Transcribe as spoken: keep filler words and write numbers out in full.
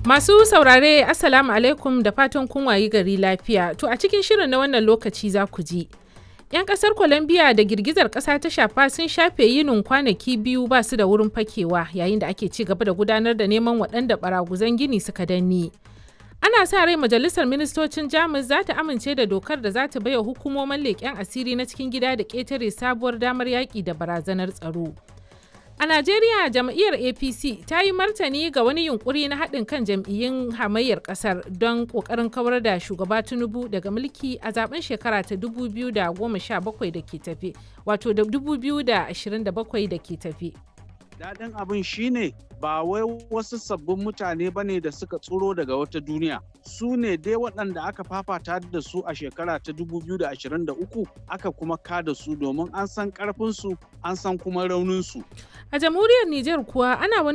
Masu saurare, Assalamu alaikum, da fatan kun wayi gari lafiya. To, a cikin shirin na wannan lokaci za ku ji: 'Yan kasar Colombia da girgizar kasa ta shafa sun shafe yinin kwanaki biyu ba su da wurin fakewa yayin da ake ci gaba da gudanar da neman waɗanda baraguzan gini suka danne. Ana sa rai Majalisar Ministocin Jamus za ta amince da dokar da za ta baiwa hukumomin leƙen asiri na cikin gida da ƙetare sabuwar damar yaƙi da barazanar tsaro. A Najeriya, jam'iyyar A P C ta yi martani ga wani yunkuri na haɗin kan jam'iyyun hamayyar ƙasar don ƙoƙarin kawar da shugaba Tinubu daga mulki a zaben shekara ta dubu biyu da goma sha bakwai da ke tafe, wato da dubu biyu da ashirin da bakwai da ke tafe. Daɗin abin shine ba wai wasu sabbin mutane ba ne da suka tsoro daga wata duniya. Su ne dai waɗanda aka fafata da su a shekara ta dubu biyu da ashirin da uku aka kuma kada su, domin an san ƙarfinsu, an san kuma rauninsu. A jamhuriyar Nijar kuwa, ana wani